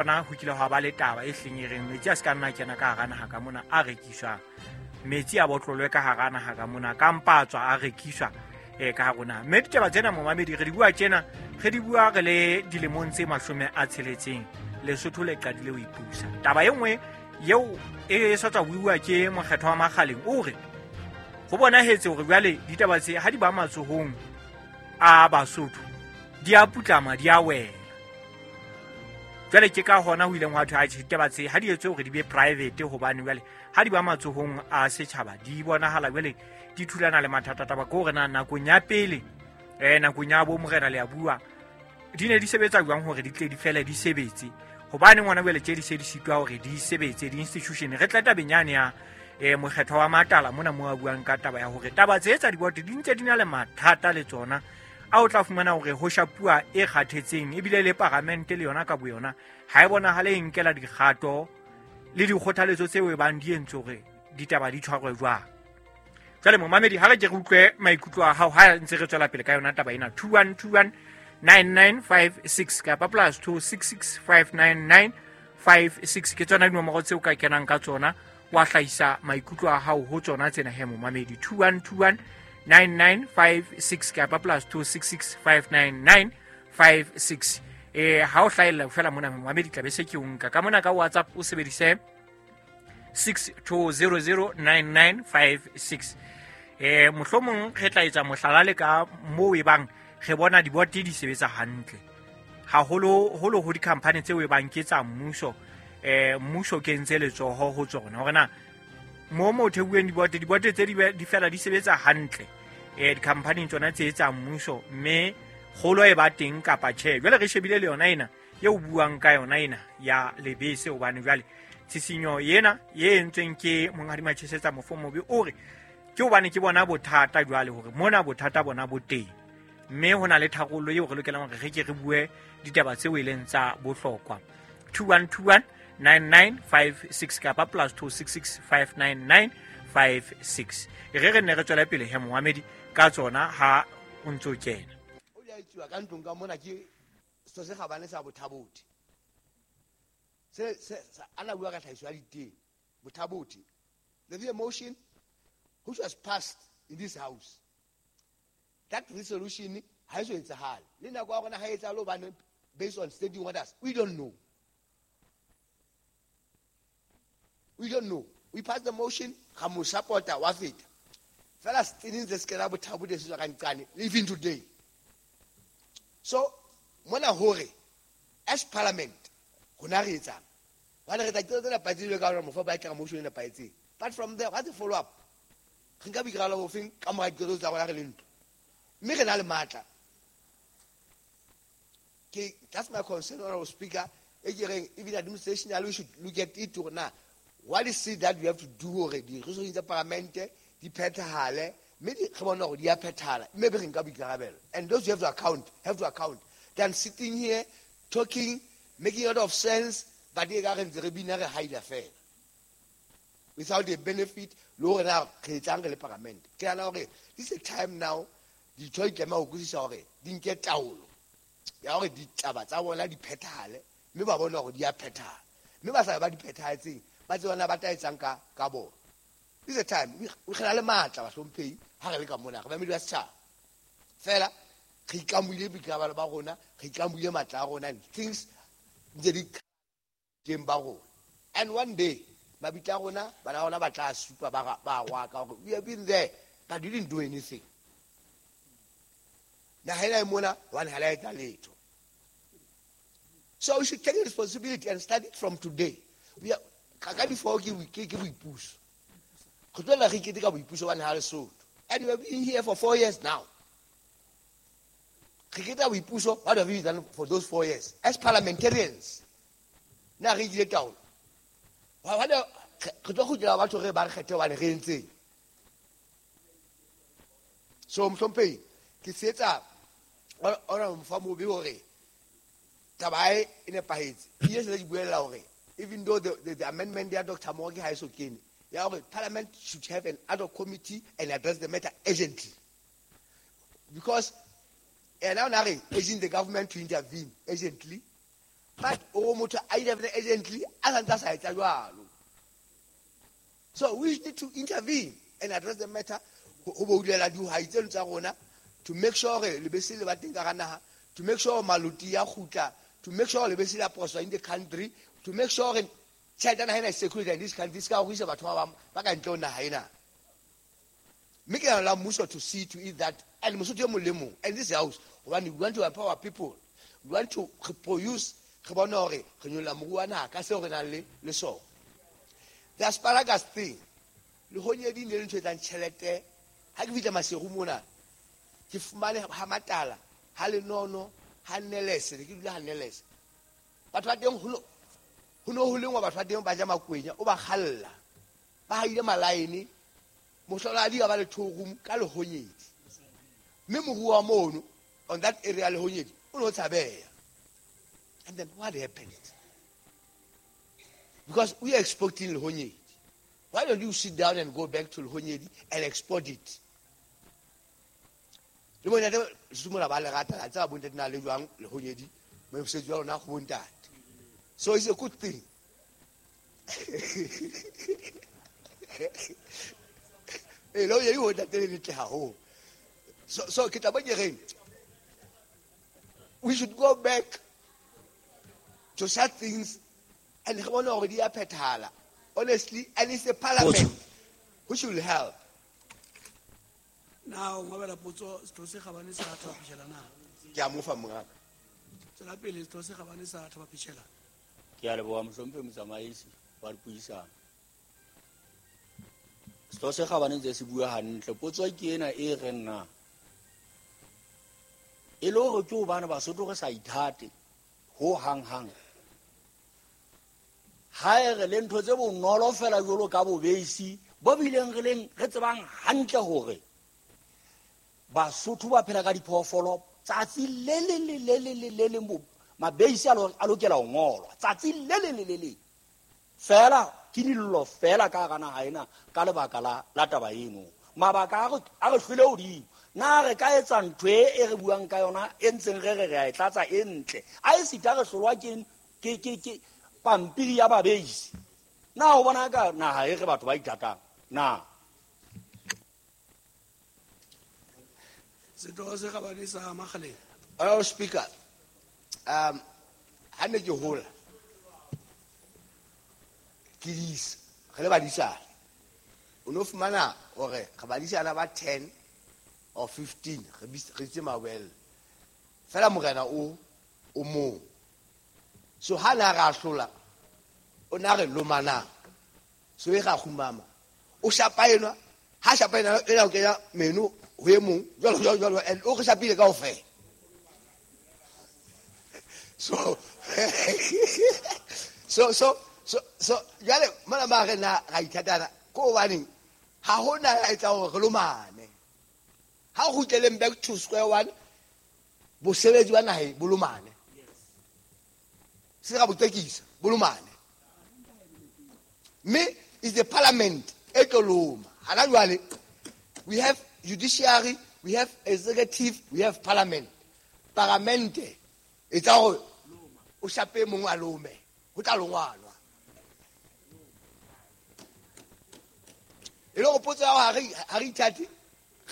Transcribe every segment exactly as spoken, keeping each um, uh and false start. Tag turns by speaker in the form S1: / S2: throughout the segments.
S1: Hona ho kile hwa ba le taba e hleng e reng metsi a se ka nna kena ka hara naha ka mona a rekiswang, metsi a botlolwe ka hara naha ka mona, ka mpa a tswa a rekiswa eh ka hara naha. Mme ditaba tsena momamedi re di bua tjena, re di bua re le dilemong tse mashome a tsheletseng Lesotho le qadile ho ipusa. Taba e nngwe eo e sa tswa buiwa ke mokgetho wa Makgaleng o re ho bonahetse hore jwale ditaba tse ha di ba matsohong a Basotho di a putlama, di a wela. Jwale ke ka hona ho ileng hwa thwe atjhe ditaba tse ha di etswe hore di be private, hobane jwale ha di ba matsohong a setjhaba di bonahala jwale di thulana le mathata. Taba ke hore na nakong ya pele eh nakong ya bo morena le a bua di ne di sebetsa jwang hore di tle di fele di sebetse, hobane ngwana jwale tje di se di sitwa hore di sebetse di-institution. Re tla tabeng yane ya eh mokgetho wa Matala mona mo a buang ka taba ya hore taba tse tsa diboto di ntse di na le mathata le tsona, a o tla fumana hore ho shapuwa e kgathetseng, ebile le paramente le yona ka boyona ha e bonahale e nkela dikgato le dikgothaletso tseo e bang di entswe hore ditaba di tshwarwe jwang. Jwale momamedi, ha re ke re utlwe maikutlo a hao ha ntse re tswela pele ka yona taba ena. Two one two one nine nine five six kapa plus two six six five nine nine five six ke tsona dinomoro tseo ka kenang ka tsona wa hlahisa maikutlo a hao ho tsona tsena he momamedi. Two one two one nine nine five six kapa plus two six six five nine nine five six. Eh ha o hlahella fela mona momamedi tla be se ke o nka ka mona ka WhatsApp o sebedise six two zero zero nine nine five six. Eh mohlomong re tla etsa mohlala le ka moo e bang re bona dibote di sebetsa hantle haholo holo ho di-company tseo e bang ke tsa mmuso, eh mmuso kentse letsoho ho tsona hore na mo mo thebueng dibote, dibote tse di di fela di sebetsa hantle eh di-company tsona tse tsa mmuso, mme kgolo e ba teng kapa tjhe. Jwale re shebile le yona ena eo buang ka yona ena ya lebese, hobane jwale tshisinyo ena e entsweng ke monghadi Machesetsa Mofomobe o re ke hobane ke bona bothata jwale hore mona bothata bona bo teng, mme ho na le tharollo eo re lokelang hore re ke re bue ditaba tseo e leng tsa bohlokwa. Two one two one nine nine five six kapa plus two six six five nine nine five six. Re re nne re tswele pele he momamedi ka tsona ha o ntso kena.
S2: O di a etsuwa ka ntlong ka mona ke setho se kgabane sa Bothabothi. Se se ana bua ka tlhahiso ya ditene Bothabothi. There is a motion which was passed in this house. That resolution ha e so etsahale. Le nako ya rona ha e etsahale hobane based on standing orders, we don't know. We don't know. We passed the motion, ra mo support-a wa feta. Fela setene se se kena Bothabothi se tswa ka nqane, even today. So mona hore as parliament rona re etsang, hobane re tla qeta tse nepahetseng jwalo ka hore mofo ba tla motion e nepahetseng. But from there, what's the follow up? Re nka boikarabelo bofeng ka mora diqeto tsa rona re le ntlo? Mme re na le matla. Ke that's my concern, Honorable Speaker. E ke reng even administration we should look at it hore na what is it that we have to do hore di-resolution tsa parliamente di phethahale, mme di re bone hore di a phethahala, mme be re nka boikarabelo. And those who have to account have to account. Than sitting here talking, making a lot of sense, but e ka re ntse re bina re haila fela without the benefit le hore na re etsang re le parliament. Ke nahana hore this is a time now ditho di tlameha ho utlwisisa hore di nke taolo ya hore ditaba tsa bona di phethahale, mme ba bone hore di a phethahala, mme ba sa ba di phethahetseng ba tsebe na ba tla etsang ka ka bona. This is a time we re na le matla bahlomphehi ha re le ka mona re bamedi ba setjhaba fela re ikamohile boikarabelo ba rona, re ikamohile matla a rona, and things ntse di teng ba rona. And one day mabitla a rona bana ba rona ba tla supa ba ba rwaka hore we have been there but we didn't do anything. Naha ena e mona hobane ha la etsa letho. So we should take responsibility and start it from today. We are ka ka before ke ke ke boipuso. Re tlohela re ikete ka boipuso hobane ha Lesotho. And we have been here for four years now. Re keta boipuso, what have we done for those four years? As parliamentarians, na re ile taolo. Wa re tlo kgutlela batho re ba re kgethe hobane re entseng. So mohlomphehi ke tshehetsa ona Mofomobe hore taba e e nepahetse. Ke se ke buella hore even though the, the, the amendment ya Doctor Mooki ha e so kene, ya hore parliament should have an ad hoc committee and address the matter urgently. Because ena o na re urging the government to intervene urgently. But o motho a ile urgently a santse a sa etsa jwalo. So we need to intervene and address the matter ho boulela dihwai tseno tsa rona to make sure lebese le ba teng ka naha, to make sure maloti ya kgutla, to make sure lebese la prosper in the country, to make sure tjhelete ya naha ena is security in this country, se ka ho isa batho ba bang ba ka ntle ho naha ena. Mme ke nahana la mmuso to see to it that, and mosotho e mong le mong, and this house, hobane we want to empower people, we want to reproduce, re bone hore re nyolla moruo wa naha ka seo re nang le le sona. The asparagus thing, lehonyedi ne le ntho e etsang tjhelete. Ha ke fihla Maseru mona, ke fumane ha Matala, ha Lenono, ha Nelese, ne ke dula ha Nelese. Batho ba teng ho no, ho no ho lengwa, batho ba teng ba ja makwenya, o ba kgalla. Ba haile malaene, mohloladi a ba le two room ka lehonyedi. Mme moruo wa mono, on that area lehonyedi, o no tshabeha. And then what happened? Because we are exporting lehonyedi. Why don't you sit down and go back to lehonyedi and export it? Le bontate Sesotho ba le rata, la tseba bontate na le jwang lehonyedi, mosebetsi wa lona go bontate. So it's a good thing. Eh, lehonyedi ho ntate le letle haholo. So, so ke tla bo ke reng, we should go back to such things and re bone hore di a phethahala. Honestly, and it's the parliament which will help.
S3: Now, ngobela potso setho se kgabane sa Thaba Phishela na?
S2: Ke a mo fa mongaka.
S3: Tswela pele, setho se kgabane sa Thaba Phishela.
S4: Ke a leboha mohlomphehi motsamaisi wa dipuisano. Setho se kgabane ntse se bua hantle. Potso ke ena e reng na e le hore ke hobane Basotho re sa ithate ho hang hang. Ha e re le ntho tse bonolo fela jwalo ka bobeisi bo bileng re leng re tsebang hantle hore Basotho ba phela ka diphoofolo tsatsi le le le le le le le leng bo mabeisi a lo-, a lokela ho ngolwa tsatsi le le le le le fela ke dillo fela ka hara naha ena ka lebaka la, la taba eno. Mabaka a re, a re hlwele hodimo. Na re ka etsa ntho e, e re buang ka yona e ntseng re re re a e tlatsa e ntle. A e sita re hlolwa ke, ke, ke, ke pampiri ya babeisi. Na o bona ka naha e re batho ba ithatang? Na?
S3: Setho se kgabane sa Makgaleng.
S2: Honorable Speaker, um, ha ne ke hola, ke disa, re le badisana. O no fumana hore re badisana ba ten or fifteen, re bis-, re itse mawele. Fela morena o, o mong. So ha na ra hlola, o na re lomanang. So e ra kgumama. O shapa enwa, ha shapa ena, ena o kenya meno ho e mong, jwalo, jwalo, jwalo, and o re shapile kaofela. So, so, so, so, so, jwale, mona ba re na ra ithatana, ko hobaneng, ha hona ya etsang hore re lomane. Ha o kgutleleng back to square one, bosebetsi ba naheng bo lomane. Se ra bo tekisa, bo lomane. Mme is the parliament e tlo loma. Hana jwale, we have judiciary, we have executive, we have parliament. Parliamente e tsa hore o shape mongwe a lome, ho tla longwanwa. E le hore potso ya hore ha re, ha re ithate,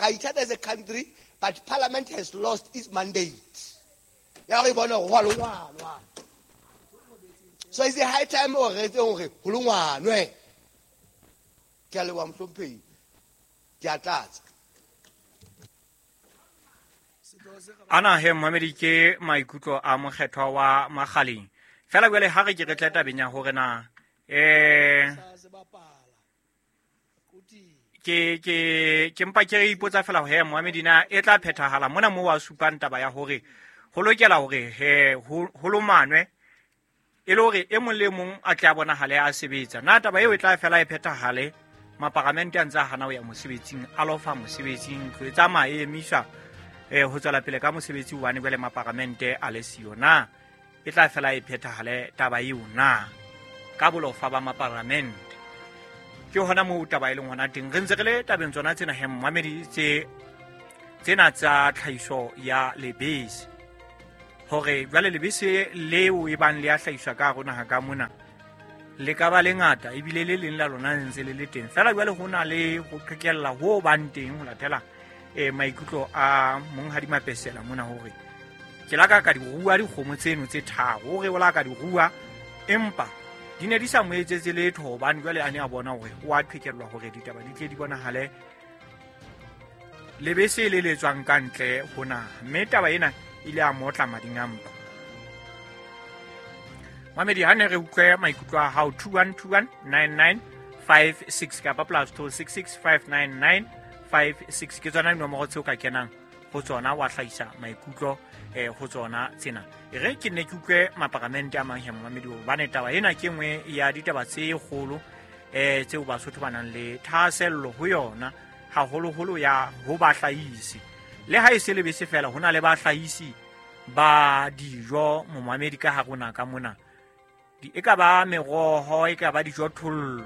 S2: ra ithata as a country, but parliament has lost its mandate. Ya hore e bone hore ho a longwanwa. So it's a high time hore re etse hore ho longwanwe. Ke a leboha mohlomphehi. Ke a tlatsa.
S1: Ana he momedi ke maikutlo a mokgethwa wa Makgaleng. Fela jwale ha re ke re tle tabeng ya hore na, eh, ke, ke, ke mpa ke re ipotsa fela hore he momedi na e tla phethahala mona moo wa supang taba ya hore ho lokela hore he ho, ho lomanwe e le hore e mong le mong a tle a bonahale a sebetsa. Na taba eo e tla fela e phethahale maparamente a ntse a hana ho ya mosebetsing, a lofa mosebetsing, ntlo e tsamaya e emiswa, eh, ho tswela pele ka mosebetsi hobane jwale maparamente a le siyo. Na e tla fela e phethahale taba eo na ka bolofa ba maparamente? Ke hona moo taba e leng hona teng. Re ntse re le tabeng tsona tsena he mmamedi tse, tsena tsa tlhahiso ya lebese. Hore jwale lebese leo e bang le a hlahiswa ka hare ho naha ka mona le ka ba lengata ebile le leng la lona le ntse le le teng. Feela jwale ho na le ho qhekella ho bang teng ho latela eh maikutlo a monghadi Mapesela mona hore ke la ka ka di rua dikgomo tseno tse tharo, hore o la ka di rua empa di ne di sa mo etsetse letho hobane jwale a ne a bona hore o a qhekellwa hore ditaba di tle di bonahale lebese le le tswang ka ntle ho naha. Mme taba ena ile a motla mading a mpa. Mamedi, ha ne re utlwe maikutlo a hao two one two one nine nine five six kapa plus two six six five nine nine five six ke tsona dinomoro tseo ka kenang ho tsona wa hlahisa maikutlo eh ho tsona tsena. E re ke ne ke utlwe maparamente a mang he momamedi hobane taba ena ke nngwe ya ditaba tse kgolo eh tseo Basotho ba nang le thahasello ho yona, haholoholo ya ho bahlahisi. Le ha e se lebese fela, ho na le bahlahisi ba dijo momamedi ka hare ho naha ka mona. Di e ka ba meroho, e ka ba dijothollo,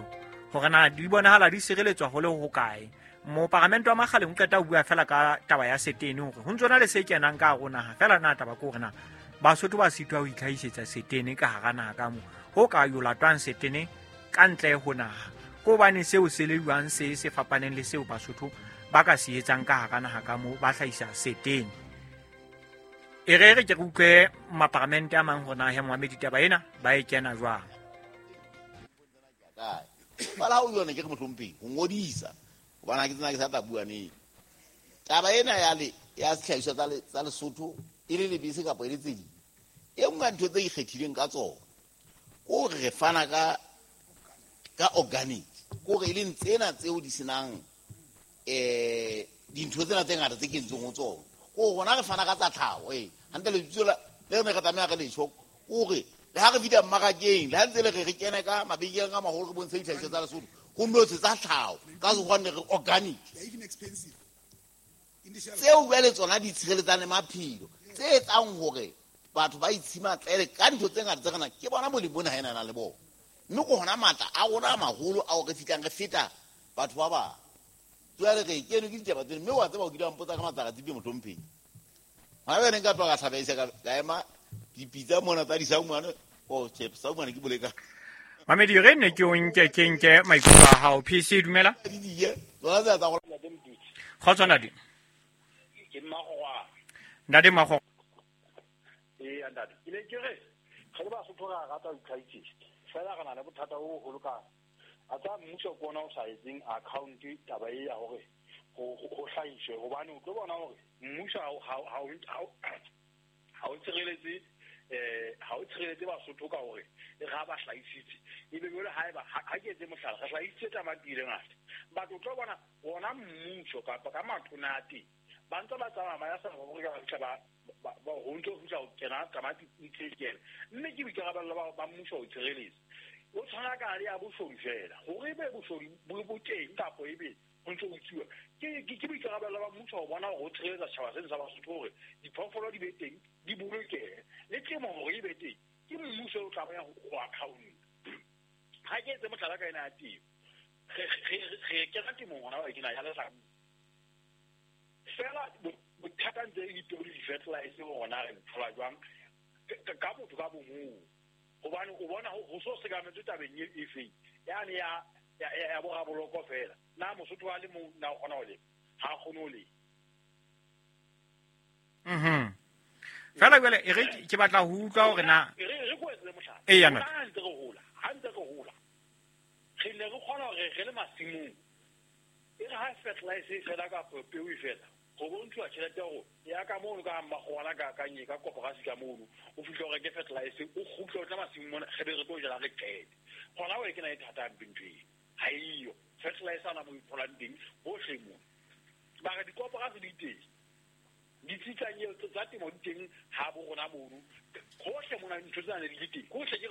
S1: hore na di bonahala di sireletswa ho le hokae. Moparamente wa Makgaleng o qeta ho bua fela ka taba ya setene hore ho ntso na le se kenang ka hare ho naha. Fela na taba ke hore na Basotho ba sitwa ho itlhahisetsa setene ka hara naha ka moo, ho ka yo latwang setene ka ntle ho naha. Ke hobane seo se le jwang se se fapaneng le seo Basotho ba ka se etsang ka hara naha ka moo ba hlahisa setene. E re re ke re utlwe maparamente a mang hore na he momamedi taba ena ba e kena jwang.
S5: Fela ha o yona ke re mohlomphehi ho ngodisa hobane ha ke tsena ke sa tla bua neng. Taba ena ya le ya sehlahiswa tsa tsa Lesotho e le lebese kapa e le tse ding, e nngwe ya ntho tse ikgethileng ka tsona ke hore re fana ka ka organic, ke hore e leng tsena tseo di senang eh dintho tsena tse ngata tse kentsweng ho tsona. Ke hore rona re fana ka tsa tlhaho, eh hantle lebitso la le re ne re tlameha re letjho ke hore le ha re fihla mmarakeng, le ha ntse le re re kene ka mabenkeleng a maholo re bontshe dihlahiswa tsa Lesotho, ho notse tsa tlhaho ka sekgowa ne re organic. Tseo jwale tsona di tshireletsang le maphelo, tse etsang hore batho ba itshimatlele ka dintho tse ngata tse re nang ke bona molemo ona ha ena na le bona. Mme ke hona matla a rona a maholo ao re fihlang re feta batho ba bang. Jwale re kenwe ke ditaba tsena, mme wa tseba o kile wa mpotsa ka matsaka-tsipe mohlomphehi. Hona jwale nka tloha ka hlabehisa ka ka ema dipitsa mona tsa disaumane, oh tjhe, saumane ke boleka.
S1: Mamedi, re ne ke o nke ke nke maikutlo a hao. P C dumela.
S5: Di diye, tsona tse tsa go
S1: Kgotso ntate.
S6: Ke Mmakgwa.
S1: Ntate Mmakgwa.
S6: Ee, ntate. Ke ne ke re re le Basotho re a rata ho itlhahisetsa. Fela re na le bothata bo boholo ka a tsa mmuso ke ona o sa etseng account taba e ya hore ho ho hlahiswe, hobane o tlo bona hore mmuso ha ha ha ha o tshireletse eh ha o tshireletse Basotho ka hore e re ha ba hlahisitse ebe jwale haeba ha ke etse mohlala re hlahisitse tamati le ngata, batho o tlo bona ona mmuso kapa ka matona a teng ba ntse ba tsamaya ba ya South Africa ba fihla ba ba ho ntso fihla ho kena tamati ntse e kena, mme ke boikarabelo ba ba mmuso ho tshireletsa. O tshwana ka le ya boshodu fela hore ebe boshodu bo bo teng kapa ebe ho ntso ho tsuwa, ke ke boikarabelo ba mmuso ho bona hore o tshireletsa setjhaba sena sa Basotho hore diphoofolo di be teng, di bolokehe, le temo hore e be teng. Ke mmuso o tlameha ho account. Ha ke etse mohlala ka ena ya temo, re re re kena temong hona wa kena ya lehlabula fela bothata ntse e dipeo le di-fertilizer hore na re thola jwang ka motho ka bomong, hobane o bona ho so sekametswe tabeng e efeng yane ya ya boraboloko fela. Na Mosotho a le mong na o kgona ho lema? Ha a kgone ho lema.
S1: Mhm. Fela jwale e re ke batla ho utlwa hore na
S6: e re re ko etse mohlala.
S1: Eya, ntate.
S6: Ha ntse re hola, ha ntse re hola re ne re kgona hore re le masimong e re ha fertilizer e fela kapa peo e fela, ho bontshuwa tjhelete ya hore ya ka mono ka Mmakgwana ka ka nye ka koporasi ka mono o fihle o reke fertilizer o kgutle o tla masimong mona re be re tlo jala re qete. Hona o e kena e thata hampe ntho eo, ha eyo fertilizer ana mo tholang teng hohle mona. Ba re dikoporasi di teng, ditsitsanyeo tsa temo di teng ha bo rona mono hohle mona, ntho tsena di le teng hohle. Ke